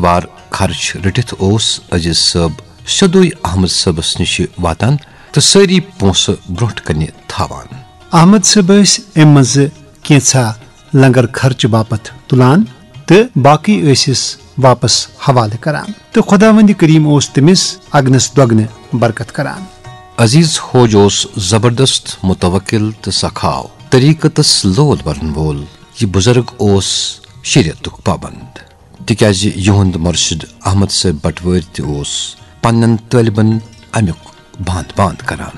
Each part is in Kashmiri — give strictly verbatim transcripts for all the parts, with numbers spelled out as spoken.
بار خرچ رٔٹِتھ اوس عزیز صٲب سیوٚدُے احمد صٲبس نِش واتان تہٕ سٲری پونٛسہٕ برونٛٹھ کنہِ تھاوان۔ احمد صٲب ٲسۍ امہِ منٛزٕ کینٛژھا لنگر خرچہٕ باپتھ تُلان تہٕ باقٕے ٲسِس واپس حوالہٕ کران، تہٕ خۄداوندِ کریٖم اوس تٔمِس اگنس دۄگنہٕ برکت کران۔ عزیز ہوج اوس زبردست متوکل تہٕ سخاو طریقتس لول برن وول۔ یہِ بزرگ اوس شریعتُک پابند، تِکیازِ یِہُنٛد مرشد احمد صٲب بٹوٲرۍ تہِ اوس پننٮ۪ن طٲلبن امیُک باند باند کران۔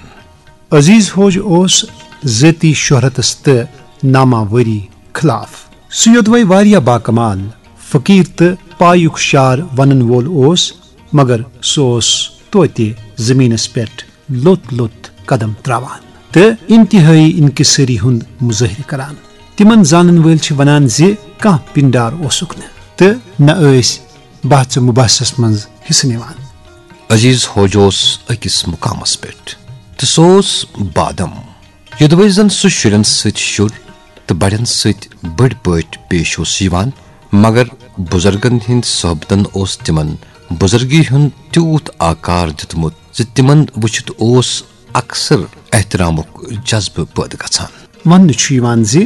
عزیز ہوج اوس ذٲتی شہرتس تہٕ ناماوری خلاف۔ سُہ یوٚدوے واریاہ باکمال فقیر تہٕ پایُک شار ونن وول اوس، مگر سُہ اوس توتہِ زمینس پٮ۪ٹھ لوٚت لوٚت قدم تراوان تہٕ انتہٲئی انکسٲری ہُنٛد مظٲہرٕ کران۔ تِمن زانن وٲلۍ چھِ ونان زِ کانٛہہ پنڈار اوسُکھ نہٕ تہٕ نہ ٲسۍ بحث و مباحثس منٛز حصہٕ نِوان۔ عزیز ہوج اوس أکِس مقامس پٮ۪ٹھ تہٕ سُہ اوس بادم۔ یوٚدوَے زن سُہ شُرٮ۪ن سۭتۍ شُر تہٕ بڑٮ۪ن سۭتۍ بٔڑۍ پٲٹھۍ پیش اوس یِوان، مگر بزرگن ہٕنٛدۍ صحبتن اوس تِمن بزرگی ہُنٛد تیوٗت آکار دیُتمُت زِ تِمن وٕچھِتھ اوس اکثر احترامُک جذبہٕ پٲدٕ گژھان۔ وننہٕ چھُ یِوان زِ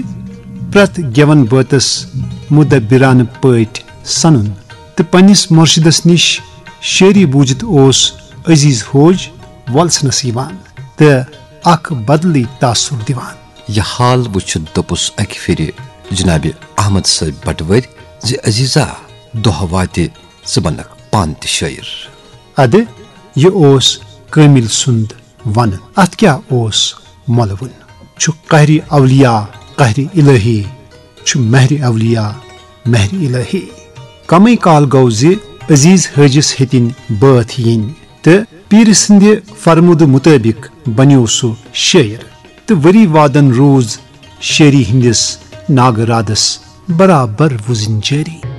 پرٛٮ۪تھ گٮ۪ون بٲتس مدبرانہٕ پٲٹھۍ سنُن تہٕ پننِس مرشدس نِش شٲعری بوٗزِتھ اوس عزیز ہوج وۄلسنس یِوان تہٕ اکھ بدلٕے تاثر دِوان۔ یہِ حال وٕچھِتھ دوٚپُس اکہِ پھِرِ جناب احمد صٲب بٹوٲرۍ زِ عزیزا، دۄہ واتہِ ژٕ بنکھ پانہٕ تہِ شٲعر۔ ادٕ یہِ اوس کٲمِل سُنٛد ونُن۔ اتھ کیٛاہ اوس مۄلوُن؟ چھُ قہرِ اولیاء قہرِ الہی، چھُ مہرِ اولیاء مہرِ الہی۔ کمٕے کال گوٚو زِ عزیز حٲجِس ہیٚتِنۍ بٲتھ یِنۍ تہٕ پیٖرِ سٕنٛدِ فرمودٕ مُطٲبِق بنیوو سُہ شٲعر۔ تہٕ ؤری وادن روٗز شٲعری ہٕنٛدِس ناگہٕ رادس برابر وُزٕنۍ جٲری۔